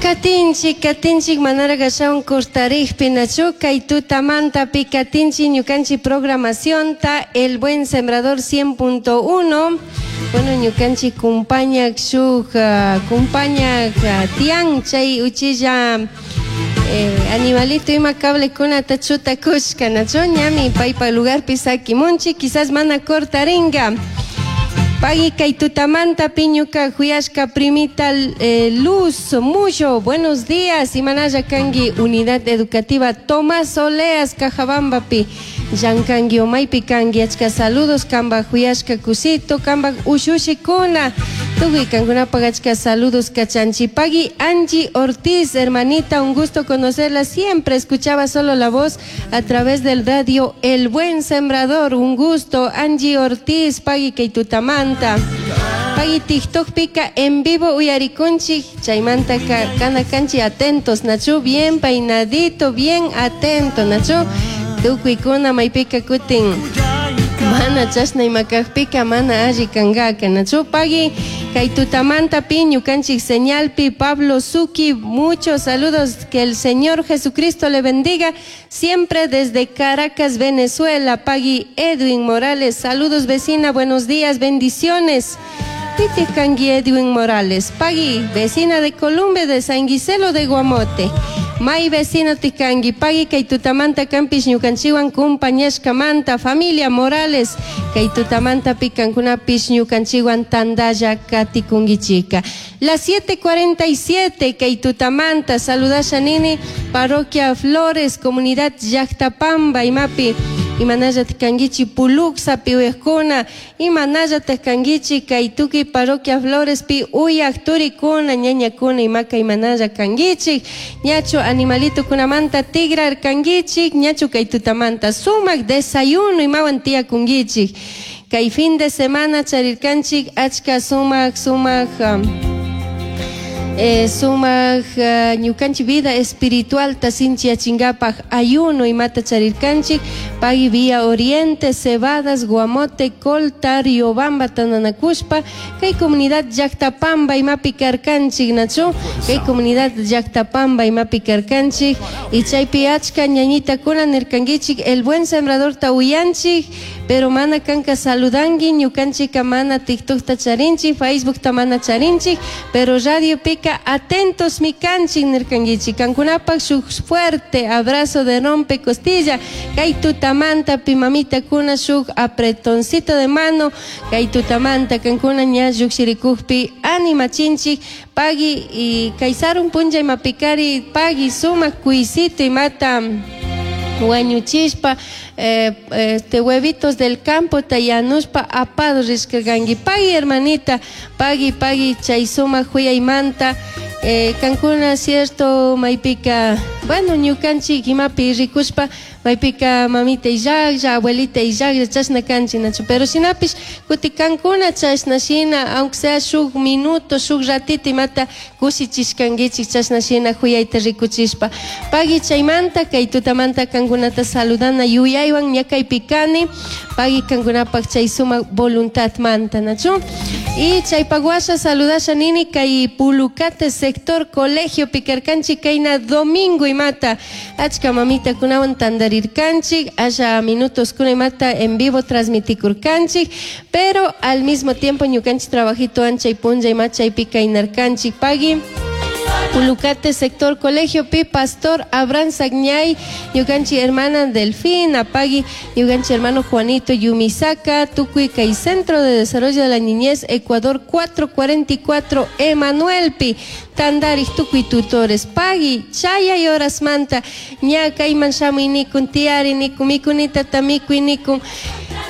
Katinchik, katinchik manaraq ashawan cortarikpi nachu kay tutamantapi katinchik ñukanchik programacionta El Buen Sembrador 100.1. Bueno, ñukanchik kumpañak shuk ah, kumpañak ah, tiyan chay uchilla eh, animalito ima cablekunata chutakushka nachu ñami paypa lugarpi sakimunchik quizás mana cortaringa. Pagui kay tutamanta piñuka juyashka primita eh, Luz Mullo, buenos días, imanalla kanki Unidad Educativa Tomás Oleas Cajabambapi, llankanki umaypi kanki, achka saludos kamba juyashka kusito, kamba ushushikuna, tukuy kankunapaq achka saludos kachanchi. Pagui Angie Ortiz, hermanita, un gusto conocerla, siempre escuchaba solo la voz a través del radio El Buen Sembrador, un gusto, Angie Ortiz, pagui kay tutamanta. Pagui TikTok pika en vivo uyarikunchik, chaymanta ka, kana kanchi atentos, nachu bien peinadito, bien atento, nachu tukuykuna maypika kutin mana chashna ima kajpika mana alli kankaka, nachu pagui kay tutamanta pi ñukanchik señalpi Pablo Suki, muchos saludos, que el Señor Jesucristo le bendiga siempre desde Caracas, Venezuela. Pagui Edwin Morales, saludos vecina, buenos días, bendiciones. Piti kanki Edwin Morales, pagui vecina de Colombia, de San Guiselo de Guamote. May vecino tikanki, pagui kay tutamanta kanpish ñukanchiwan kumpañashkamanta, familia Morales, kay tutamanta pikankunapish ñukanchiwan tandalla katikunkichika. Las 7:47 kay tutamanta saludasha nini Parroquia Flores, Comunidad Llactapamba, imapi imanalla tikankichi Puluxapi uyajkuna, imanalla tikankichi kay tukuy Parroquia Florespi uyaj turikuna, ñañakuna, imaka imanalla kankichik, ñachu animalitokunamanta tigrarkankichik, ñachu kay tutamanta sumak desayuno imawan tiyakunkichik. Kay fin de semana charirkanchik achka sumak sumak sumak ñukanchik vida espiritualta sinchiyachinkapak ayuno imata charirkanchik pagui Vía Oriente, Cebadas, Guamote, Colta, Riobamba tandanakushpa kay comunidad Llactapamba imapi karkanchik nachu kay comunidad Llactapamba imapi karkanchik y chaypi achka ñañitakuna nirkankichik El Buen Sembradorta uyanchik pero mana kanka saludanki ñukanchika mana TikTokta charinchik, Facebookta mana charinchik, pero radiopika atentos mi kanchik nirkankichik. Kankunapak shuk fuerte abrazo de rompe costilla, kay tutamanta pi mamitakuna shuk apretoncito de mano, kay tutamanta kankuna ña llukshirikukpi animachinchik, pagui y kay sarun punlla imapikari pagui sumak kuisito imata wañuchishpa este huevitos del campo tayanushpa apado rishkarkanki. Pagui hermanita, pagui, pagui chay sumak huyaymanta kankuna cierto maypika, bueno, ñukanchik imapi rikushpa maypika mamita illaklla, abuelita illaklla chashna kanchik nachu, pero shinapish kuti kankuna chashna shina, aunque sea shuk minuto, shuk ratito imata kushichishkankichik chashna shina huyayta rikuchishpa. Pagui chaymanta kay tutamanta kankunata saludana yuyaywan ña kaypi kani, pagui kankunapak chay sumak voluntadmanta nachu. Y chaypak washa saludasha nini kay Pulucate sector colegio pikarkanchik kayna domingo imata achka mamitakunawan tandarirkanchik, asha minutos kuna imata en vivo transmitikurkanchik, pero al mismo tiempo ñukanchik trabajito chay punlla ima chaypi kaynarkanchik. Pagui Pulucate sector colegio pi pastor Abraham Sagñay, ñukanchik hermana Delfina, pagui ñukanchik hermano Juanito Yumisaka, tukuy kay Centro de Desarrollo de la Niñez Ecuador 444 Emanuelpi, tandarik tukuy tutores, pagui chayay horasmanta ña kayman shamuy nikun tiyari nikun mikunita tamikuy nikun.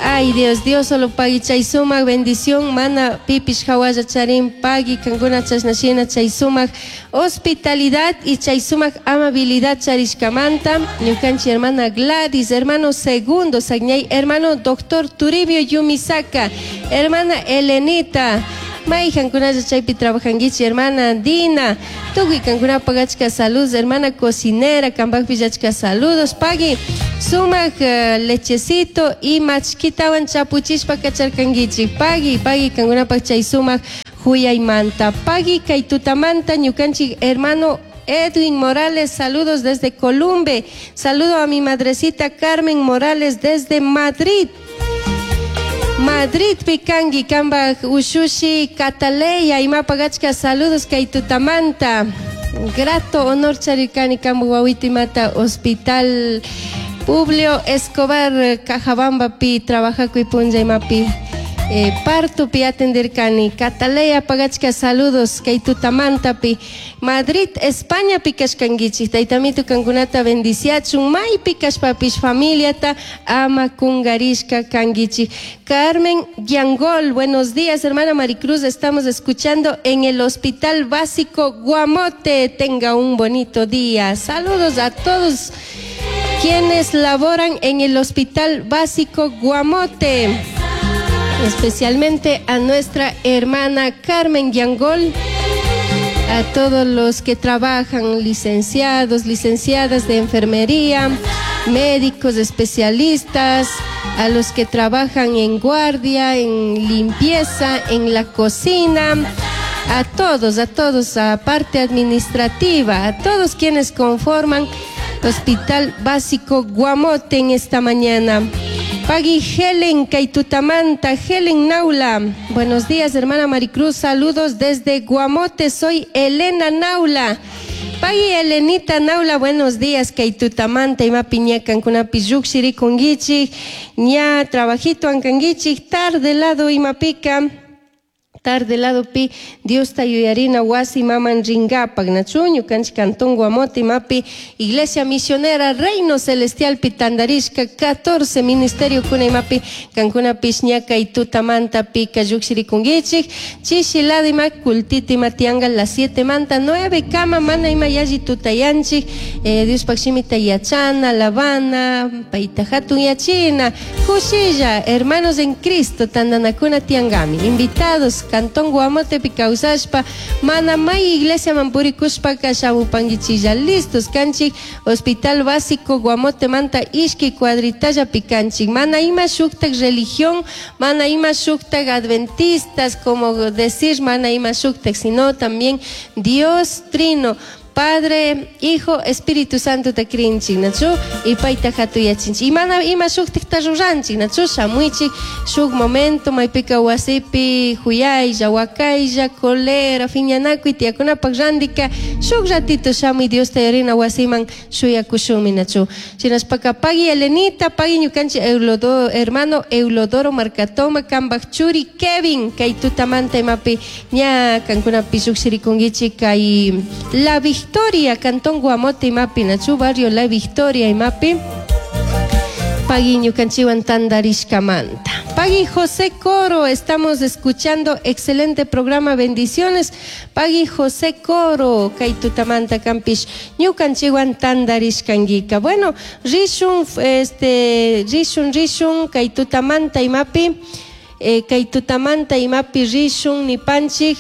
Ay Dios, Dios solo pagui chay sumak bendición mana pipish hawalla charin pagui kankuna chashna shina chay sumak hospitalidad y chay sumak amabilidad charishkamanta ñukanchik hermana Gladys, hermano Segundo Sagñay, hermano doctor Turibio Yumisaka, hermana Elenita, mayjankunalla chaypi trabajankichik, hermana Dina, tukuy kankunapak achka saludos, hermana cocinera, kanpakpish achka saludos, pagui sumak lechecito y machkitawan chapuchishpa kacharkankichik, pagui, pagui kankunapak chay sumak Juyaymanta. Pagui kay tutamanta ñukanchik hermano Edwin Morales, saludos desde Columbe. Saludo a mi madrecita Carmen Morales desde Madrid. Madrid pikangi kambaj ushushi Cataleya imapagachka saludos kay tutamanta. Grato honor charirkani kambu wawito imata Hospital Publio Escobar Cajabamba pi trabajakuy punlla imapi partopi atenderkani. Cataleya pagachka saludos kay tutamantapi. Madrid, España pi kashkankichik. Taytamitu kankunata bendiciachun maypi kashpapish familiata ama kungarishka kankichik. Carmen Yangol, buenos días, hermana Maricruz. Estamos escuchando en el Hospital Básico Guamote. Tenga un bonito día. Saludos a todos quienes laboran en el Hospital Básico Guamote. Especialmente a nuestra hermana Carmen Yangol, a todos los que trabajan, licenciados, licenciadas de enfermería, médicos, especialistas, a los que trabajan en guardia, en limpieza, en la cocina, a todos, a todos, a parte administrativa, a todos quienes conforman Hospital Básico Guamote en esta mañana. Pagui Helen Kaitutamanta, Helen Naula. Buenos días, hermana Maricruz. Saludos desde Guamote. Soy Elena Naula. Pagui Elenita Naula, buenos días. Kaitutamanta, ima piñakan kunapi lluqshirikunkichik. Ña trabajito ankankichik. Tarde lado imapika. Tarde lado pi Diosta yuyarina wasi maman ringapak nachu ñukanchik cantón Guamote imapi Iglesia Misionera Reino Celestial pi tandarishka 14 ministerio kuna imapi kankunapish ña kay tutamanta pika lluqshirikunkichik chishi lado ima kultita ima tiyanka las 7 manta 9 kama mana ima yalli tutayanchik Diospaj shimita yachana alabana payta hatun yachina kushilla hermanos en Cristo tandanakuna tiyankami invitados Cantón Guamotepi kawsashpa mana may iglesia man purikushpaka shamupankichilla listos kanchik Hospital Básico Guamote manta ishki cuadritallapi kanchik mana ima shuktak religión mana ima shuktak adventistas como decir mana ima shuktak sino también Dios Trino Padre, Hijo, Espíritu Santo ta crinchik, nachu? Y payta hatuyachinchik. Y mana ima shuktikta ruranchik, nachu? Shamuichik, shuk momento, maypika wasipi, huyaylla, wakaylla, colera, fiñanakuy, tiyakunapak randika, shuk ratito shamuy Diosta yuyarina wasiman shuyakushunmi, nachu? Shinashpaka pagui Elenita, pagui ñukanchik Eulodoro, hermano Eulodoro Marcatoma, kambaj churi Kevin, kay tutamanta imapi, ña kankunapi lluqshirikunkichik kay La Victoria, Cantón Guamote imapi, nachu barrio La Victoria imapi, pagui ñukanchiwan tandarishkamanta. Pagui José Coro, estamos escuchando excelente programa, bendiciones. Pagui José Coro, kay tutamanta kampish ñukanchiwan tandarishkankika. Bueno, rishun, este, rishun, rishun, kay tutamanta imapi, kay tutamanta imapi rishun nipanchik,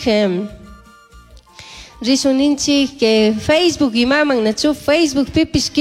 rishun ninchik que Facebook imaman, nachu Facebook pipish.